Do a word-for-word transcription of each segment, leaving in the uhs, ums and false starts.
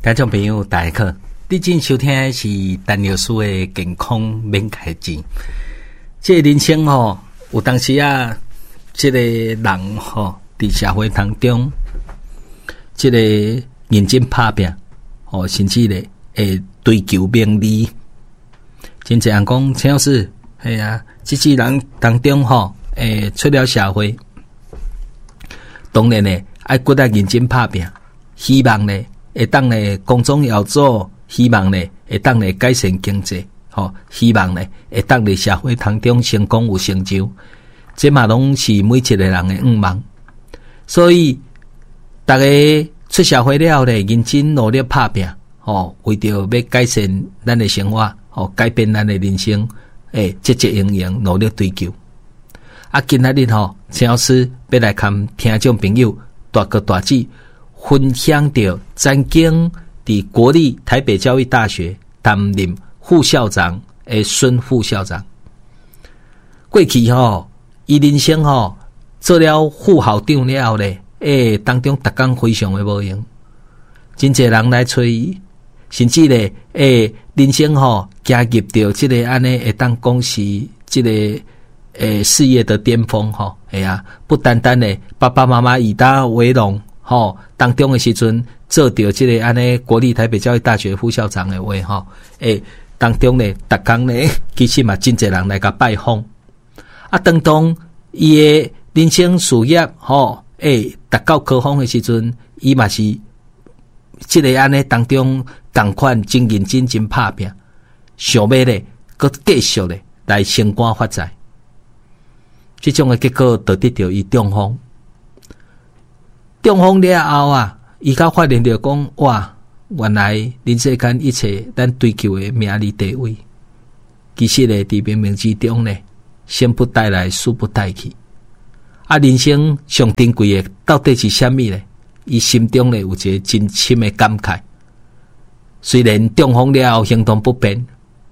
聽眾朋友，大家好，你正收聽的是陳律師的健康免開錢。這個人生吼，有當時啊，這個人吼，佇社會當中，這個認真拍拚，吼，甚至咧會追求名利。真濟人講，陳老師，係啊，這世人當中吼，會出了社會，當然咧愛閣較認真拍拚，希望咧會當咧光宗耀祖，希望咧會當咧改善經濟，吼，希望咧會當佇社會當中成功有成就，這嘛攏是每一個人的願望。所以，逐家出社會了後咧，認真努力拍拚，吼，為著欲改善咱的生活，吼，改變咱的人生，會積極營營努力追求。啊，今仔日吼，陳老師欲來共聽眾朋友大哥大姊分享著曾經佇國立台北教育大學擔任副校長的孫副校長。過去吼，伊人生吼做了副校長了後咧，欸，當中逐工非常的無閒，真濟人來揣伊，甚至咧，欸，人生吼行入著這个按呢會當講是這个欸事業的巔峰吼，會啊，不單單咧爸爸媽媽以他為榮吼，當中的時陣做著這个按呢國立台北教育大學副校長的話吼，欸，當中咧逐工咧其實嘛真濟人來共拜訪，啊，當當伊的人生事業吼，欸，達到高峰的時陣，伊嘛是這个按呢當中仝款真認真真拍拚，想欲咧閣繼續咧來升官發財，這種的結果就得著伊中風。中風了後啊，伊才發現著講哇，原來人世間一切咱追求的名利地位，其實咧佇冥冥之中咧，生不帶來，死不帶去。啊，人生上珍貴的到底是啥物咧？伊心中咧有一个真深的感慨。雖然中風了後行動不便，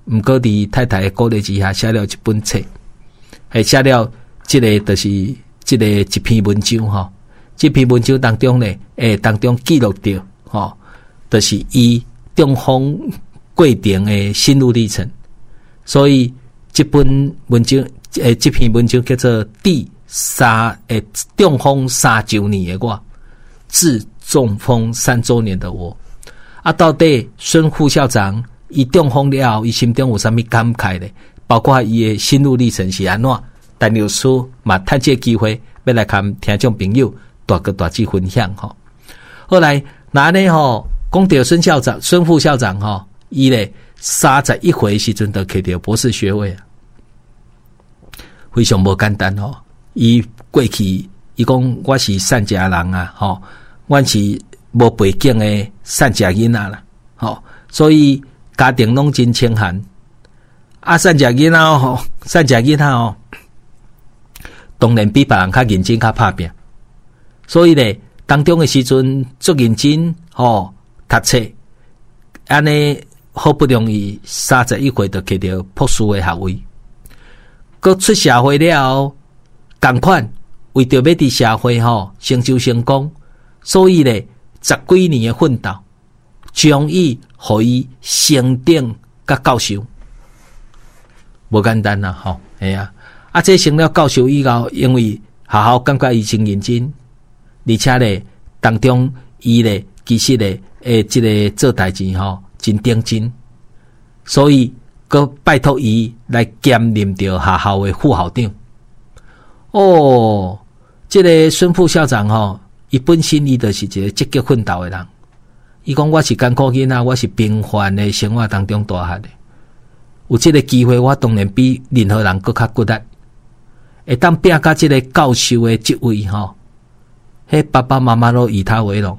毋過佇太太的鼓勵之下，寫了一本冊，係寫了這个就是這个一篇文章吼。這篇文章當中咧，會當中記錄著吼，就是伊中風過程的心路歷程。所以這本文章，欸，這篇文章叫做《第三欸中風三週年的我》，致中風三週年的我。啊，到底孫副校長伊中風了後，伊心中有啥物感慨咧？包括伊的心路歷程是按怎？陳律師嘛，趁這个機會欲來共聽眾朋友大哥大姊分享吼。後來若按呢吼，講著孫校長、孫副校長吼，伊咧三十一歲時陣就摕著博士學位啊，非常無簡單吼。伊過去伊講我是散食人啊，吼，阮是無背景的散食囡仔啦，吼，所以家庭攏真清寒。啊，散食囡仔吼，散食囡仔吼，當然比別人較認真較拍拚。所以咧，當中的時陣足認真吼，讀冊，按呢好不容易三十一歲就摕著博士的學位，閣出社會了後，仝款為著欲佇社會吼成就成功，所以咧十幾年的奮鬥，終於予伊升等佮教授，無簡單啦吼，係啊，啊這升了教授以後，因為學校感覺伊真認真，而且咧當中伊咧其實咧會這个做代誌吼真認真，所以閣拜託伊來兼任著學校的副校長。哦，這个孫副校長吼，伊本身伊就是一个積極奮鬥的人。伊講我是艱苦囡仔，我是平凡的生活當中大漢的，有這个機會，我當然比任何人閣較骨力。會當拼到這个教授的職位吼，彼爸爸媽媽攏以他為榮。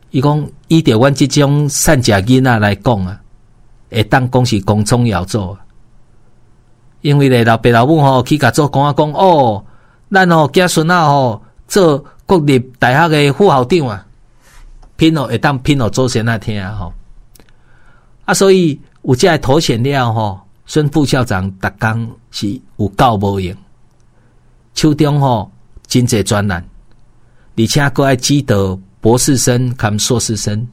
伊講以著阮這種散食囡仔來講啊，會當講是光宗耀祖啊。因為咧老爸老母吼去共祖公仔講哦，咱吼囝孫仔吼做國立大學的副校長啊，聘予會當聘予祖先仔聽吼。啊，所以有這个頭銜了吼，孫副校長逐工是有夠無閒，手中吼真濟專案，而且閣愛指導博士生兼碩士生。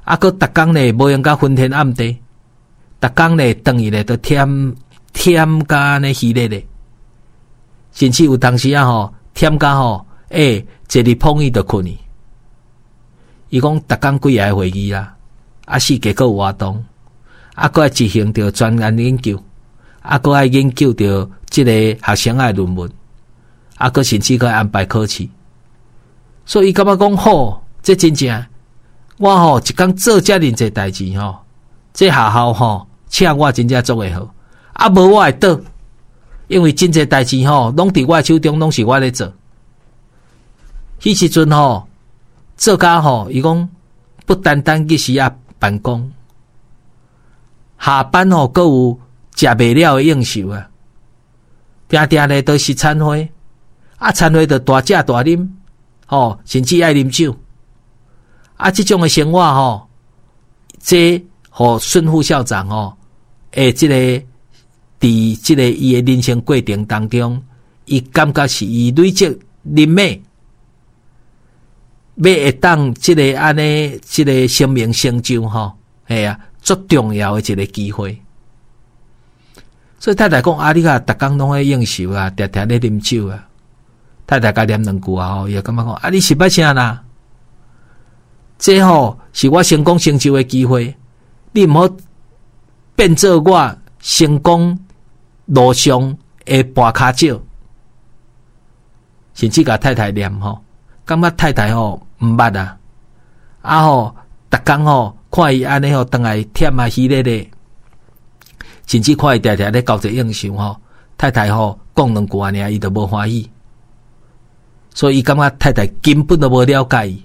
啊，閣逐工咧無閒甲昏天暗地，逐工咧轉去咧都忝忝甲按呢虛咧咧，甚至有當時啊吼忝甲吼，欸，坐佇膨椅就睏去。伊講逐工幾个會議啦，啊四界閣有活動，啊閣愛執行著專案研究，啊閣愛研究著這个學生的論文，啊閣甚至閣愛安排考試。所以伊感覺講好，這真正我吼一工做遮爾濟代誌吼，這學校吼請我真正足會好，啊無我會倒，因為真濟代誌吼攏佇我的手中，攏是我咧做。彼時陣吼做甲吼，伊講不單單日時啊辦公，下班吼閣有食袂了的應酬啊，定定咧都是餐會，啊餐會就大食大啉，吼，甚至愛啉酒，啊這種的生活吼，這予孫副校長吼，欸，這個佇這個伊的人生過程當中，伊感覺是伊累積人脈，欲會當這个按呢，這个生命成就吼，嘿啊，足重要的一个機會。所以太太講啊，你共逐工攏咧應酬啊，定定咧啉酒啊。太太共念兩句啊，吼，伊就感覺講啊，你是欲啥啦？這吼是我成功成就的機會，你毋好變做我成功路上的絆跤石，甚至共太太念吼，感覺太太吼毋捌啊，啊吼，逐工吼看伊按呢吼，轉來忝啊虛咧咧，甚至看伊定定咧交際應酬吼，太太吼講兩句按呢，伊就無歡喜，所以伊感覺太太根本都無了解伊。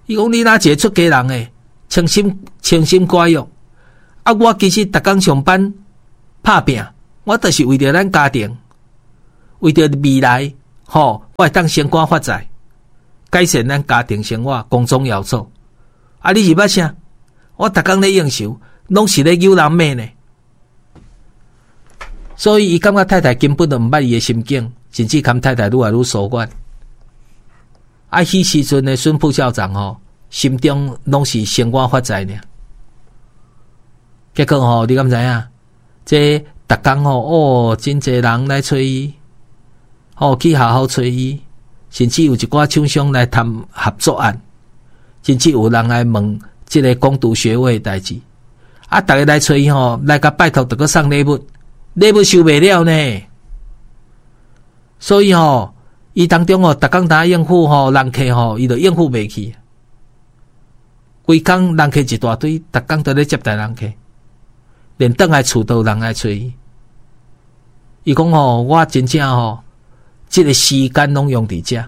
伊講你若一个出家人的，清心清心寡欲，啊！我其實逐工上班拍拚，我就是為著咱家庭，為著未來，吼，我會當升官發財，改善咱家庭生活，光宗耀祖。啊！你是欲啥？我逐工咧應酬，攏是咧誘人罵呢。所以伊感覺太太根本就毋捌伊的心境，甚至共太太愈來愈疏遠。啊！彼時陣的孫副校長吼，心中攏是升官發財爾。結果吼，你敢知影？這逐工吼，哦，真濟人來揣伊，吼去學校揣伊，甚至有一寡廠商來談合作案，甚至有人來問這个攻讀學位的代誌。啊，逐家來揣伊吼，來共拜託，著閣送禮物，禮物收袂了呢。所以吼，伊當中吼，逐工當應付吼人客吼，伊就應付袂去。規工人客一大堆，逐工都咧接待人客，連轉來厝都有人來揣伊。伊講吼，我真正吼，這个時間攏用佇遮。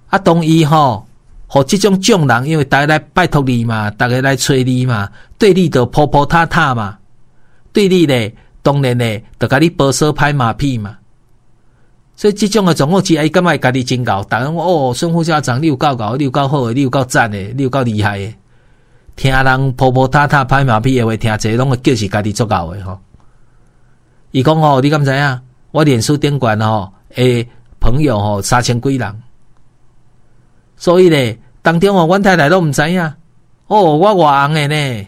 啊，當伊吼，予這種眾人，因為逐家來拜託你嘛，逐家來揣你嘛，對你就鋪鋪塔塔嘛，對你咧，當然咧，就共你婆娑拍馬屁嘛。所以這種的狀況之下，伊感覺家己真𠢕，逐家講哦，孫副校長，你有夠𠢕，你有夠好的，你有夠讚的，你有夠厲害的。聽人鋪鋪塔塔拍馬屁的話，聽者攏會叫是家己足𠢕的吼。伊講吼，你敢知影？我臉書頂懸吼，的朋友吼三千幾人，所以咧，當中吼，阮太太攏毋知影。哦，我偌紅的呢？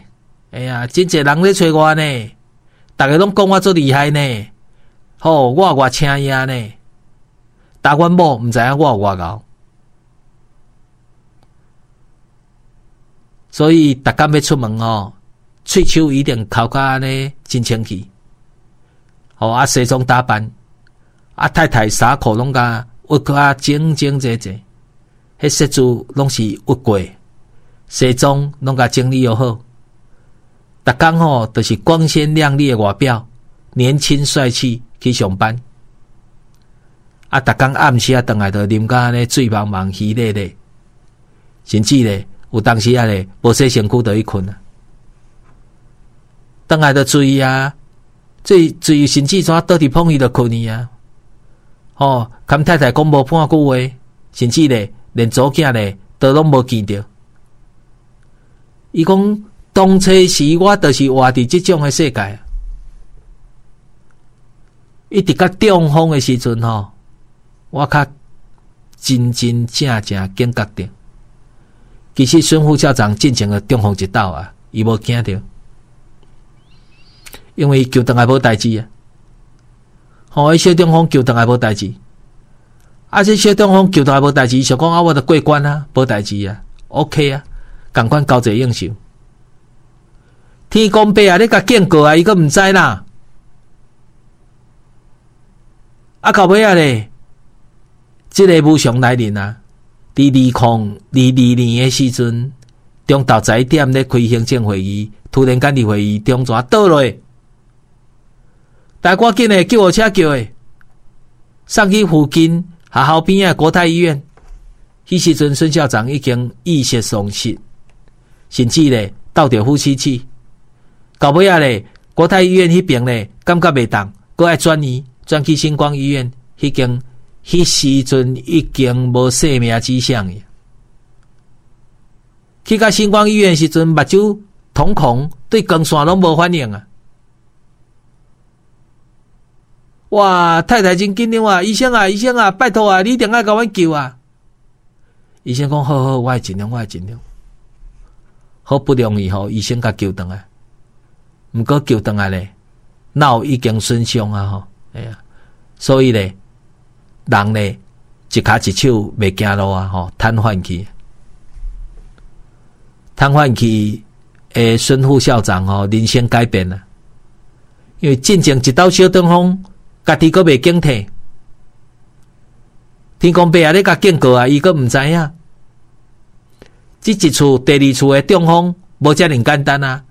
哎呀，真濟人咧揣我呢，逐家攏講我足厲害呢。吼，我偌請伊呢？但阮某毋知影我有偌𠢕，所以逐工欲出門吼，喙鬚一定摳甲按呢真清氣。吼啊，西裝打扮，啊太太衫褲攏共熨甲整整齊齊，彼雪珠攏是熨過，西裝攏共整理好。逐工吼，就是光鮮亮麗的外表，年輕帥氣去上班。啊！逐工暗時啊，轉來就啉甲按呢醉茫茫、虛咧咧，甚至咧有當時啊咧無洗身軀就去睏啊。轉來就醉啊，醉醉甚至怎倒佇膨椅就睏去啊。吼，共太太講無半句話，甚至咧連查某囝咧都攏無見著。伊講當初時我就是活佇這種的世界，一直到中風的時陣吼。我較真真正正警覺著，其實孫副校長進前就中風一道啊，伊無驚著，因為救轉來無代誌啊。吼，伊小中風救轉來無代誌，啊，這小中風救轉來無代誌，想講啊，我著過關啊，無代誌啊，OK 啊，仝款交際應酬。天公伯啊，你共警告啊，伊閣毋知啦。啊，到尾仔咧，這个無常來臨啊！佇二零二二年的時陣，中晝十一點咧開行政會議，突然間佇會議中怎倒落，大趕緊的救護車叫的，送去附近學校邊仔國泰醫院。彼時陣孫校長已經意識喪失，甚至咧鬥著呼吸器。到尾仔咧，國泰醫院彼邊咧感覺袂當，閣愛轉移，轉去新光醫院，彼間。彼時陣已經無生命跡象。去到新光醫院時陣，目睭瞳孔對光線攏無反應啊！哇，太太真緊張啊！醫生啊，醫生啊，拜託啊，你一定愛共阮救啊！醫生講好好，我會盡量，我會盡量。好不容易吼，醫生共救轉來，毋過救轉來咧，腦已經損傷啊！吼，哎呀，所以咧。人咧一跤一手袂行路啊！吼，癱瘓去，癱瘓去。的孫副校長吼，人生改變啦。因為進前一道小中風，家己閣袂警惕。天公伯啊，咧共警告啊，伊閣毋知影。這一次、第二次的中風無遮爾簡單啊，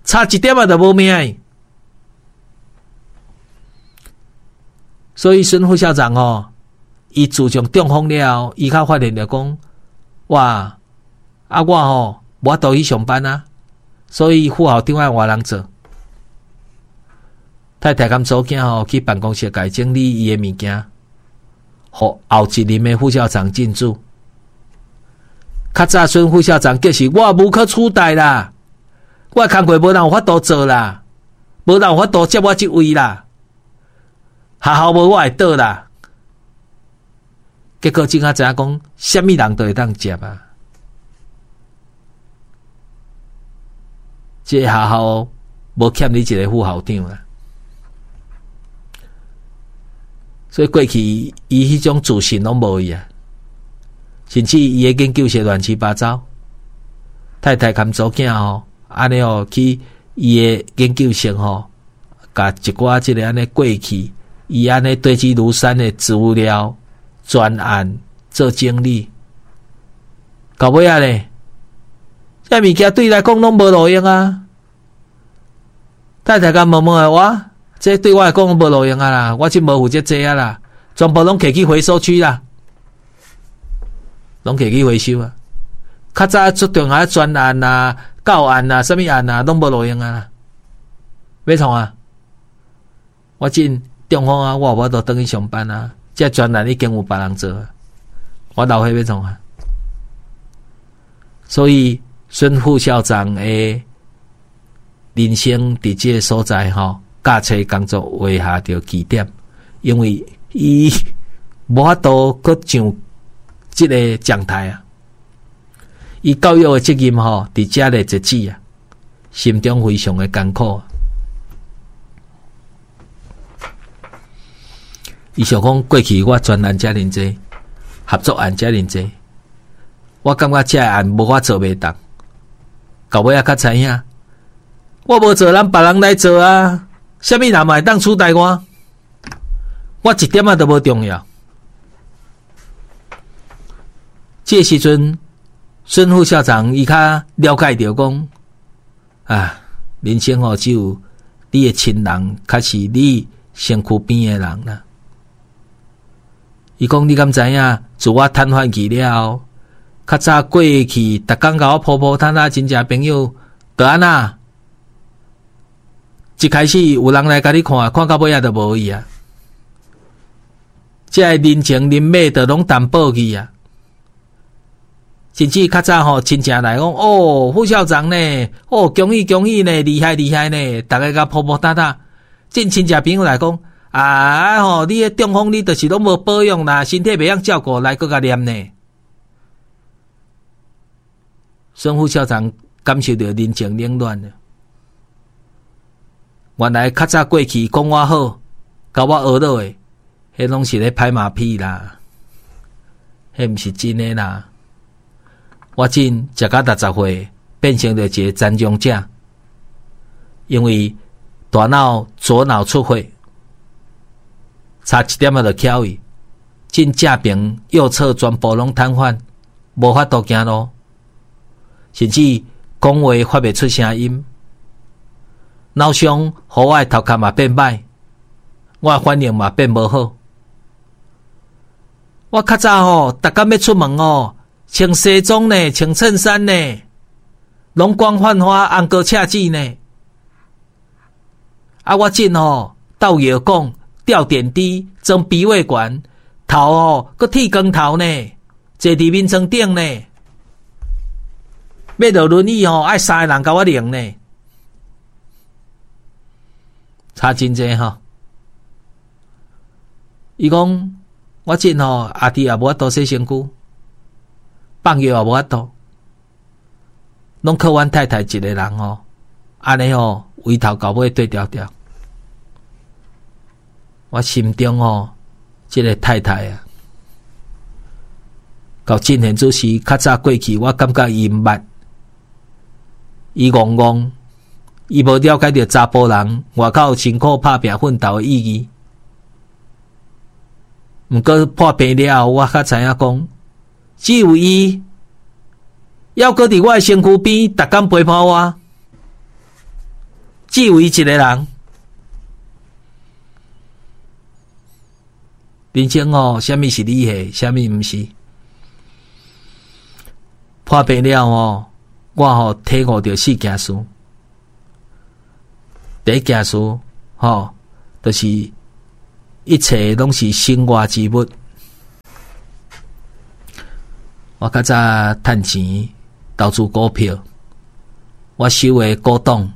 差一點仔就無命。所以孫副校長吼，伊自從中風了後，伊較發現著講，哇！啊，我吼無法度去上班啊，所以副校長愛換人做。太太佮查某囝吼去辦公室共伊整理伊的物件，予後一任的副校長進駐。較早孫副校長就是我無可取代啦，我的工課無人有法度做啦，無人有法度接我這位啦，學校無我會倒啦。結果這下知影講，啥物人都會當接啊！這個學校無欠你一個副校長啦，所以過去伊彼種自信攏無去啊，甚至伊的研究室亂七八糟，太太含查某囝吼，按呢吼去伊的研究室吼，共一寡這个按呢過去，伊按呢堆積如山的資料。專案做整理，到尾仔咧，這物件對伊來講攏無路用啊！太太共問問的我，這對我來講無路用啊啦，我這無負責這啊啦，全部攏提去回收區啦，攏提去回收啊！較早出重要專案啊、教案啊、啥物案啊，攏無路用啊！欲創啊？我這中風啊，我無法度轉去上班啊！這專案已經有別人做，我老歲欲創啊！所以孫副校長的人生佇這个所在吼，教冊工作畫下著句點，因為伊無法度閣上這個講台啊！伊教育的責任吼，佇遮咧截止啊，心中非常的艱苦。伊想講過去我專案遮爾濟，合作案遮爾濟，我感覺這个案無我做袂動，到尾仔較知影，我無做，人別人來做啊！啥物人嘛會當取代我？我一點仔都無重要。這個時陣，孫副校長伊較了解著講，啊，人生吼只有你的親人，較是你身軀邊的人啦。伊講你敢知影？自我癱瘓去了後，較早過去，逐工共我抱抱攤攤親戚朋友，就按怎？一開始有人來共你看，看到尾仔就無去啊。這个人情人脈就攏淡薄去啊。甚至較早吼親戚來講，哦，副校長呢？哦，恭喜恭喜呢，厲害厲害呢！逐家共抱抱搭搭。這親戚朋友來講，啊吼，你彼中風，你就是攏無保養啦，身體袂曉照顧，來閣共念呢。孫副校長感受著人情冷暖了。原來較早過去講我好，共我呵咾的，彼攏是咧拍馬屁啦，彼毋是真的啦。我真食甲六十歲，變成著一个殘障者，因為大腦左腦出血，差一點仔就翹去，真正邊右側全部攏癱瘓，無法度行路，甚至講話發袂出聲音。腦傷，予我的頭殼嘛變歹，我的反應嘛變無好。我較早吼，逐工欲出門哦，穿西裝呢，穿襯衫呢，容光煥發，紅膏赤舌呢。啊，我真吼鬥藥講，吊點滴，裝鼻胃管，頭吼閣剃光頭呢，坐佇眠床頂呢，欲落輪椅吼，愛三個人共我拎呢，差真濟吼。伊講我真吼，阿弟也無法度洗身軀，放藥也無法度，攏靠阮太太一个人吼，按呢吼，圍頭到尾對調調。我心中吼，這个太太啊，到進賢主時較早過去，我感覺伊毋捌，伊戇戇，伊無了解著查埔人外口辛苦拍拚奮鬥的意義。毋過破病了後，我較知影講，只有伊猶閣佇我的身軀邊，逐工陪伴我，只有伊一个人。人生哦，啥物是你的，啥物毋是？破病了哦，我吼體悟著四件事。第一件事，吼，就是一切攏是身外之物。我較早趁錢投資股票，我收的古董、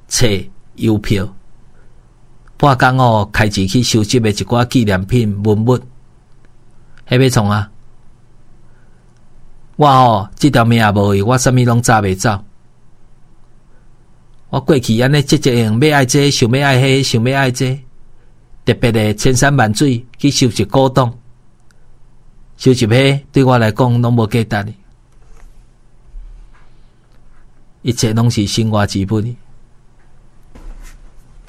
冊、郵票，半工哦開錢去收集的一寡紀念品文物，彼欲創啊？我吼這條命也無去，我啥物攏紮袂走。我過去按呢積積用，欲愛這，想欲愛彼，想欲愛這，特別的千山萬水去收集古董，收集彼對我來講攏無價值。一切攏是身外之物。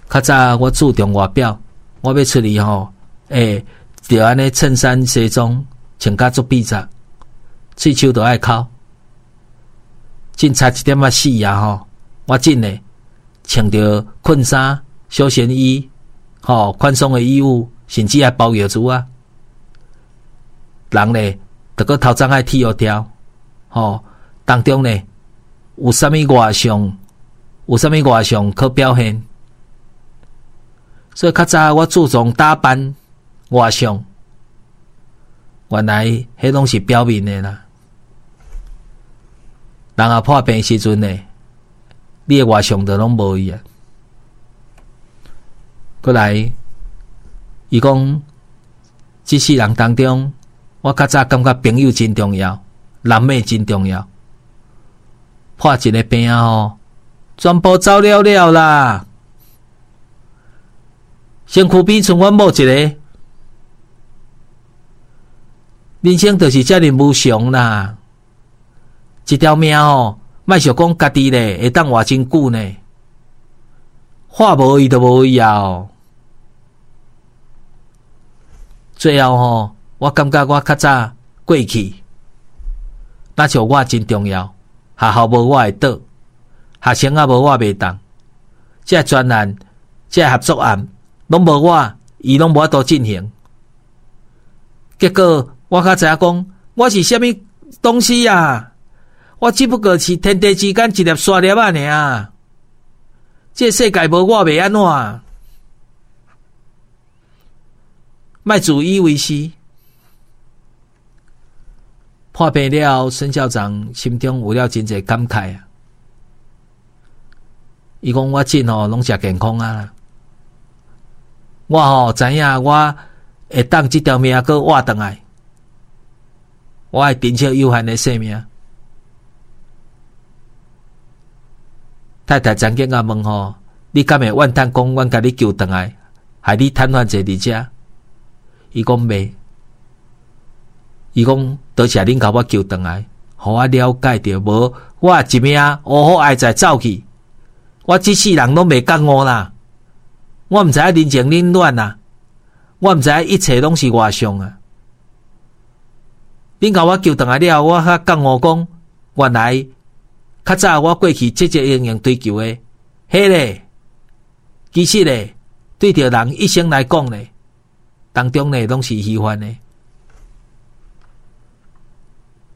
較早我注重外表，我欲出去吼，欸，就按呢襯衫西裝穿甲足筆雜，喙鬚都愛摳，真差一點仔死啊吼！我真的穿著困衫、休閒衣，吼，寬鬆的衣物，甚至愛包藥珠啊。人咧，著閣頭鬃愛剃予掉，吼，當中咧有啥物外相，有啥物外相可表現。所以較早我注重打扮外相，原來彼攏是表面的啦。人若破病時陣呢，你的外相就攏無去啊。閣來，伊講，這世人當中，我較早感覺朋友真重要，人脈真重要。破一个病吼，全部走了了啦。身軀邊賰阮某一个，人生就是遮爾無常啦。一條命吼，莫想講家己咧會當活真久呢，活無去就無去啊。最後吼，我感覺我較早過去，若像我真重要，學校無我會倒，學生仔無我袂當，這專案、這合作案攏無我，伊攏無法度進行。結果我較知影講，我是啥物東西啊？我只不過是天地之間一粒沙粒仔爾。這世界無我袂按怎？莫自以為是。破病了後，孫校長心中有了真濟感慨啊！伊講我真吼攏食健康啊！我吼知影我會當這條命閣活轉來，我愛珍惜有限的生命。太太曾經共問吼，你敢會怨嘆講，阮共你救轉來，害你癱瘓坐佇遮？伊講袂，伊講多謝恁共我救轉來，予我了解著，無我一命烏虎哀在走去，我這世人攏袂覺悟啦。我毋知影人情冷暖啊，我毋知影一切攏是外相啊。恁共我救轉來了後，我才覺悟講，原來較早我過去積積營營追求的，彼个其實咧，對著人一生來講咧，當中咧攏是虛幻的。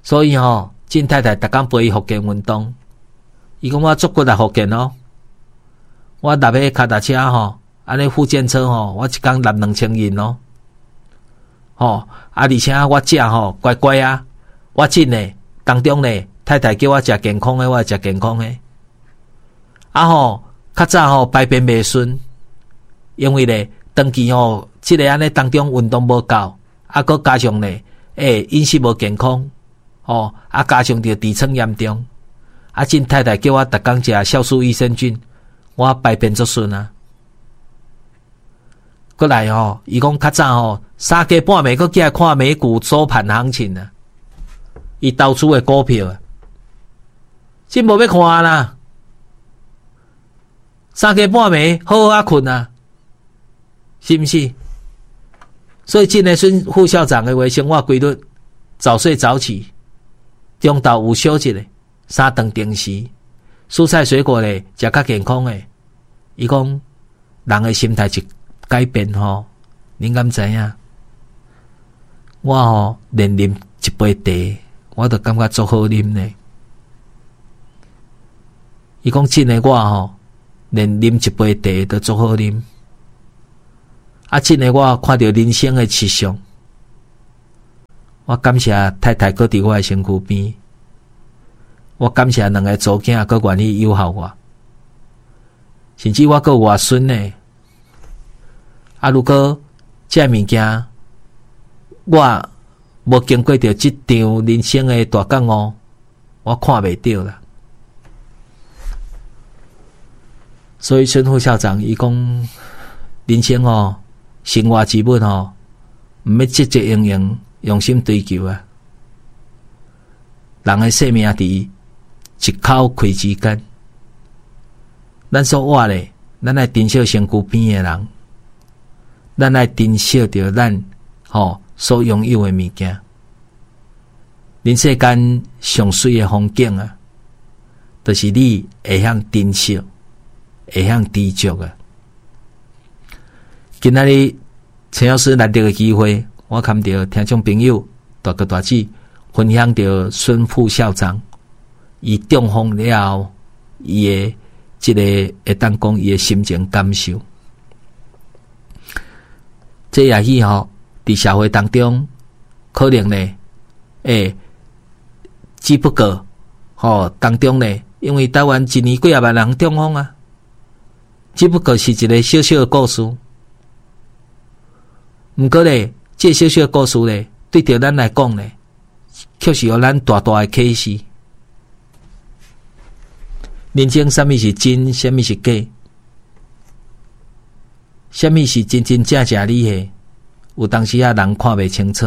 所以吼，靳太太逐工陪伊復健運動，伊講我足骨力復健哦，我踏彼跤踏車吼，按呢復健車吼，我一工踏兩千銀哦，吼啊！而且我食吼乖乖啊，我真的當中咧，太太叫我食健康的，我會食健康的。啊吼，較早吼排便袂順，因為咧長期吼，這个按呢當中運動無夠，啊，閣加上咧，欸飲食無健康，吼啊加上著痔瘡嚴重，啊，靳太太叫我逐工食酵素益生菌，我排便足順啊。閣來吼，伊講較早吼三更半暝閣起來看美股收盤行情啊，伊投資的股票啊，真無欲看啦。三更半暝好好仔睏啊，是毋是？所以，這个孫副校長的話，生活規律，早睡早起，中晝有小一下，三頓定時，蔬菜水果咧食較健康的。伊講人的心態一改變吼，恁敢知影？我吼連啉一杯茶，我都感覺足好啉咧。伊講真的，我吼連啉一杯茶都足好啉。啊，真的我看著人生的實相，我感謝太太閣佇我的身軀邊，我感謝兩个查某囝閣願意誘惑我，甚至我閣有外孫呢。啊，如果這物件我無經過著這場人生的大覺悟，我看袂著啦。所以孫副校長伊講，人生哦，生活之物吼，毋免積積營營用心追求啊。人的生命佇一口氣之間，咱所活咧，咱愛珍惜身軀邊的人，咱愛珍惜著咱吼所擁有的物件。人世間上媠的風景啊，就是你會曉珍惜，會曉知足啊。今仔日陳老師難得的機會，我堪著聽眾朋友大哥大姊分享著孫副校長，伊中風了後，伊的這個會當講伊的心情感受。這也許吼，佇社會當中，可能呢，欸，只不過吼當中呢，因為台灣一年幾仔萬人中風啊，只不過是一個小小的故事。毋過咧，這個小小的故事咧，對著咱來講咧，卻是予咱大大的啟示。人生啥物是真，啥物是假？啥物是真真正正你的？有當時仔人看袂清楚。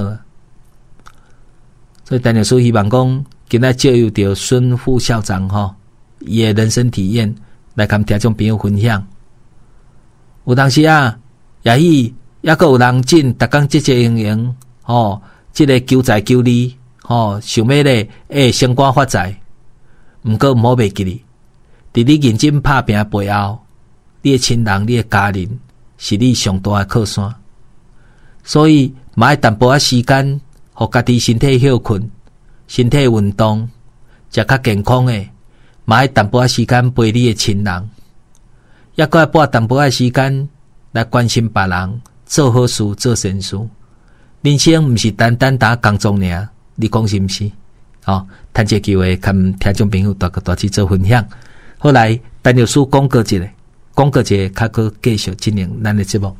所以陳老師希望講，今仔借由著孫副校長吼，伊的人生體驗來共聽眾朋友分享。有當時仔，也許猶閣有人真逐工積積營營，吼，這个求財求利，吼，想欲咧會升官發財。毋過毋好袂記哩，佇你認真拍拚背後，你的親人、你的家人是你上大的靠山。所以，嘛愛淡薄仔時間，予家己身體歇睏、身體運動，食較健康的，嘛愛淡薄仔時間陪你的親人，抑閣愛撥淡薄仔時間來關心別人，做好事、做善事。人生毋是單單焦工作爾，你講是毋是？吼，趁這機會，共聽眾朋友大哥大姊做分享。後來，陳老師講過一下，講過一下，較閣繼續進行咱的節目。